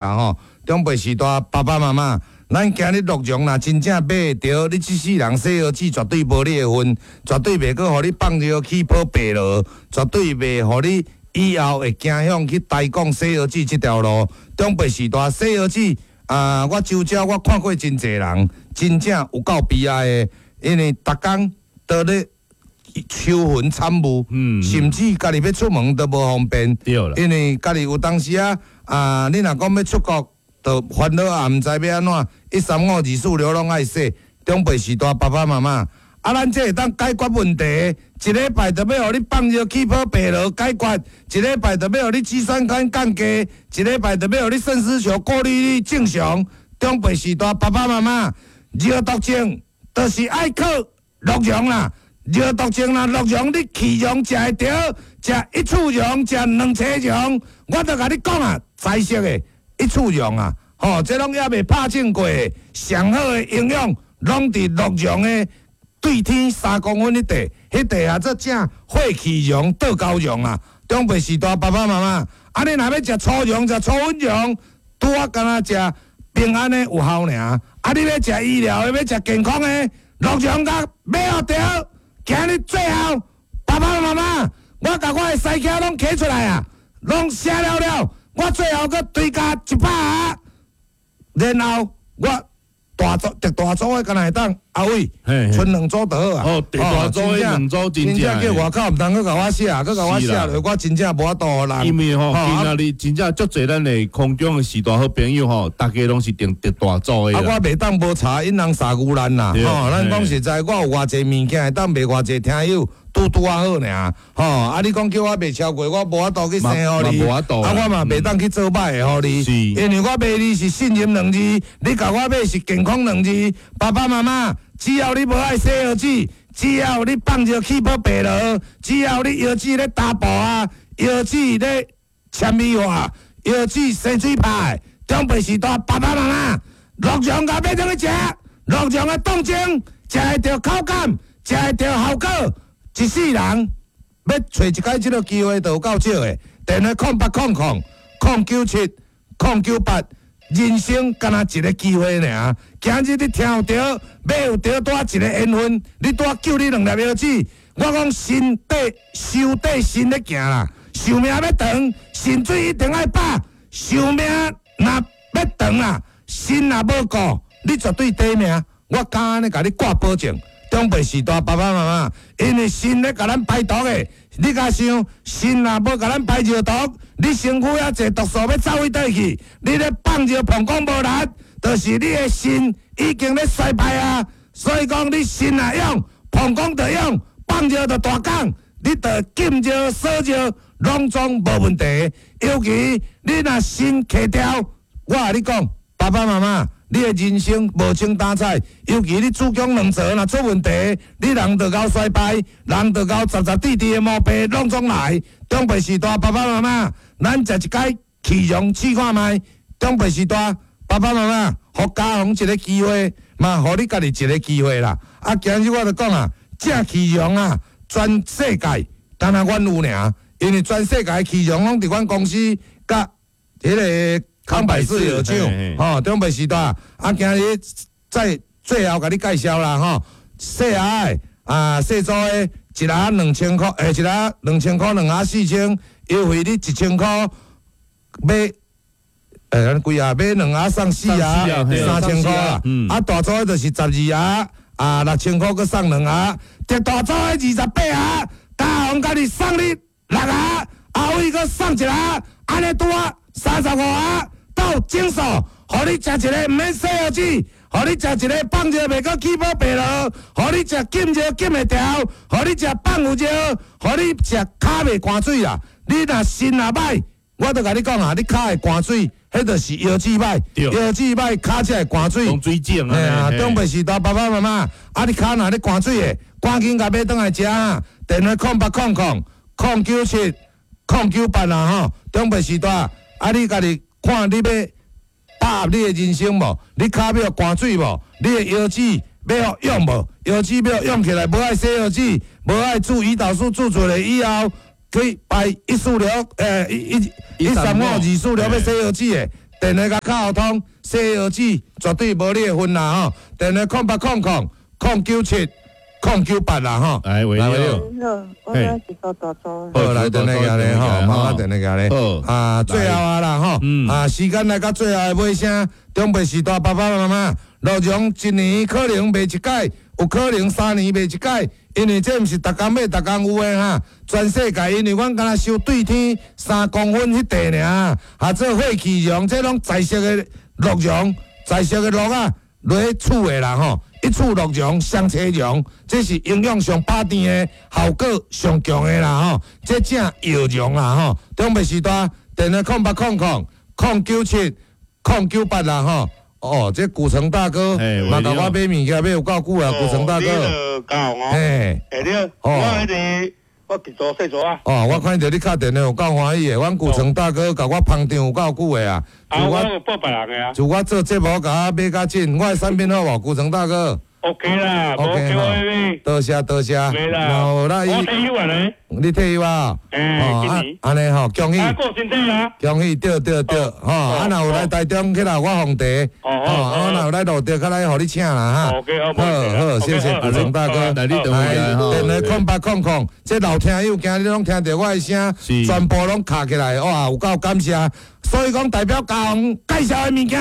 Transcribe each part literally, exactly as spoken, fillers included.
啊吼，長輩時代爸爸媽媽，咱今日鹿茸若真正買會著，你這世人洗腰子絕對無你的份，絕對袂閣予你放尿起泡白羅，絕對袂予你以後會驚向去台講洗腰子這條路。長輩時代洗腰子啊，我周遭我看過真濟人，真正有夠悲哀的，因為逐工都咧愁雲慘霧，嗯甚至家己欲出門都無方便。對啦，因為家己有當時啊，啊，你若講欲出國，就煩惱也毋知欲按怎，一三五二四六攏愛洗。長輩時代爸爸媽媽，啊，咱這會當解決問題，一禮拜就欲予你放尿起泡白羅解決，一禮拜就欲予你肌酸酐降低，一禮拜就欲予你腎絲球過濾率正常。長輩時代爸爸媽媽，尿毒症就是愛靠鹿茸啦。尿毒症啦，鹿茸你氣溶食會著，食一處溶，食兩匙溶，我就共你講啊，彩色的一處溶啊，吼，這攏猶未拍證過的，上好的營養攏佇鹿茸的對天三公分彼塊，彼塊啊做正血氣溶、倒膠溶啊。長輩時代爸爸媽媽，啊你若欲食粗溶、食粗粉溶，拄仔敢若食平安的有效爾。啊你欲食醫療的，欲食健康的，鹿茸共買予著。今日最後，爸爸媽媽，我共我的西卡攏揢出來啊，攏寫了了，我最後閣追加一百盒，然後我大組特大組的敢若會當阿偉，嘿嘿賰兩組就好啊。哦，特大組的兩組真真正正叫外口毋通閣共我寫，閣共我寫落，我真正無法度予人。因為吼，吼今仔日真正足濟咱的空中的時代好朋友吼，大家攏是訂特大組的啊，啦。我袂當無查𪜶人殺牛難啦，對吼，咱講實在，我有偌濟物件會當賣偌濟聽友，拄拄仔好爾，吼，啊，你講叫我賣超過，我無法度去生予你，嘛無法度啊，我嘛袂當去做歹的予你，是因為我賣你是信任兩字，你共我買是健康兩字，爸爸媽媽，只要你無愛洗腰子，只要你放尿起泡白羅，只要你腰子咧打步啊，腰子咧纖維化，腰子生水泡，長輩時代爸爸媽媽，鹿茸共買轉去食，鹿茸的凍精，食會著口感，食會著效果，一世人欲揣一擺這个機會就有夠少的。電話空八空空空九七空九八，人生敢若一个機會爾。今日你聽著，欲有著拄仔一個緣分，你拄仔救你兩粒腰子。我講身體壽底身咧行啦，壽命欲長，腎水一定愛飽。壽命若欲長啦，身若無顧，你絕對短命。我敢按呢共你掛保證。長輩時代爸爸媽媽，因為腎咧共咱排毒的，你共想，腎若無共咱排尿毒，你身軀遐濟毒素欲走去佗去？你咧放尿膀胱無力，就是你的腎已經咧衰敗啊。所以講，你腎若用，膀胱就用，放尿就大講，你就禁尿、鎖尿，攏總無問題。尤其你若腎開掉，我共你講，爸爸媽媽，你的人生無精打采，尤其你子宮卵巢若出問題，你人就𠢕衰敗，人就𠢕雜雜滴滴的毛病攏總來。長輩時代爸爸媽媽，咱食一擺氣溶試看覓。長輩時代爸爸媽媽，予家訪一个機會，嘛予你家己一个機會啦。啊，今日我就講啊，這氣溶啊，全世界干焦阮有爾，因為全世界氣溶攏佇阮公司佮彼个康百氏藥廠，吼，長輩時代啊，今日再最後共你介紹啦，吼，細盒的啊，細組的，一盒兩千箍，欸，一盒兩千箍，兩盒四千，優惠你一千箍買，欸，按呢幾盒買兩盒送四盒，三千箍啦。啊，大組的就是十二盒，啊，六千箍閣送兩盒，特大組的二十八盒，家訪共你送你六盒，阿偉閣送一盒，按呢拄仔三十五盒。到診所，予你食一个毋免洗腰子，予你食一个放尿袂閣起泡白羅，予你食禁尿禁會牢，予你食放有尿，予你食跤袂乾水啦。你若腎若歹，我就共你講啊，你跤會乾水，彼就是腰子歹，腰子歹，跤才會乾水。水腫啊！啊，長輩時代爸爸媽媽，啊你跤若咧乾水的，趕緊共買轉來食啊！電話空八空空空九七空九八啦吼，長輩時代，啊你家己看你欲把握你的人生無？你跤欲乾水無？你的腰子欲予用無？腰子欲用起來，無愛洗腰子，無愛注胰島素注出來以後，去排一四六，欸，一一一三五二四六欲洗腰子的，電話共敲通，洗腰子絕對無你的份啦吼。電話空八空空空九七空九八啦吼。來，喂，來你好，你好，我是蘇大祖。好，來電話寄來吼，媽媽電話寄來。好，啊，最後啊啦吼，啊，時間來到最後的尾聲，長輩時代爸爸媽媽，鹿茸一年可能賣一擺，有可能三年賣一擺，因為這毋是逐工買，逐工有的哈。全世界因為阮敢若收對天三公分彼塊爾，啊，做血氣茸，這攏在色的鹿茸，在色的鹿仔落去厝的啦吼。一處鹿茸、雙切茸，這是營養上飽甜的，效果上強的啦吼。這正藥茸啦吼。長輩時代，電話空八空空空九七空九八啦吼。哦，這古城大哥，嘛共我買物件買有夠久啊，古城大哥。嘿，欸你好，我彼个我佇做細做啊。哦，我看著你敲電話有夠歡喜的，阮古城大哥共我捧場有夠久的啊。啊，我有報別人的啊。自我做節目，共我買較緊，我的產品好無？古城大哥。 OK 啦，OK 吼。多謝多謝。沒啦。我退休啊咧。你退休啊？欸，按呢吼，恭喜。啊，顧身體啊。恭喜，對對對，吼，啊，若有來台中起來我奉茶，吼，啊，若有來路著，較來予你請啦哈。 OK，好，好，好，謝謝古城大哥。來，你等我來吼。電話空八空空，這老聽友今日攏聽著我的聲，全部攏卡起來，哇，有夠感謝。所以講，代表高雄介紹的物件，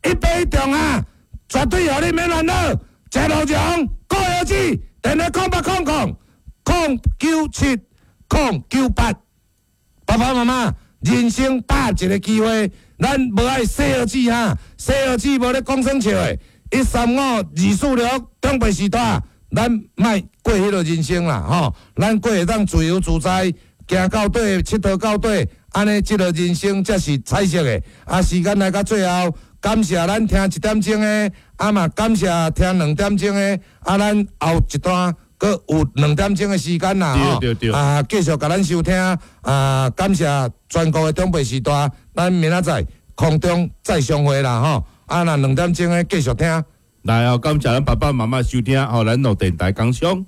一買一中啊，絕對予你免煩惱。食鹿茸，顧腰子，電話空八空空空九七空九八。爸爸媽媽，人生百一個機會，咱無愛洗腰子哈，洗腰子無咧講耍笑的。一三五二四六，長輩時代，咱莫過彼个人生啦吼，咱過會當自由自在，行到底，𨑨迌到底，按呢這个人生才是彩色的。啊，時間來到最後，感謝咱聽一點鐘的，啊嘛感謝聽兩點鐘的，啊咱後一段閣有兩點鐘的時間啦吼，啊繼續共咱收聽，啊感謝全國的長輩時代，咱明仔載空中再相會啦吼，啊若兩點鐘的繼續聽。來哦，感謝咱爸爸媽媽收聽，予咱樂電台工商。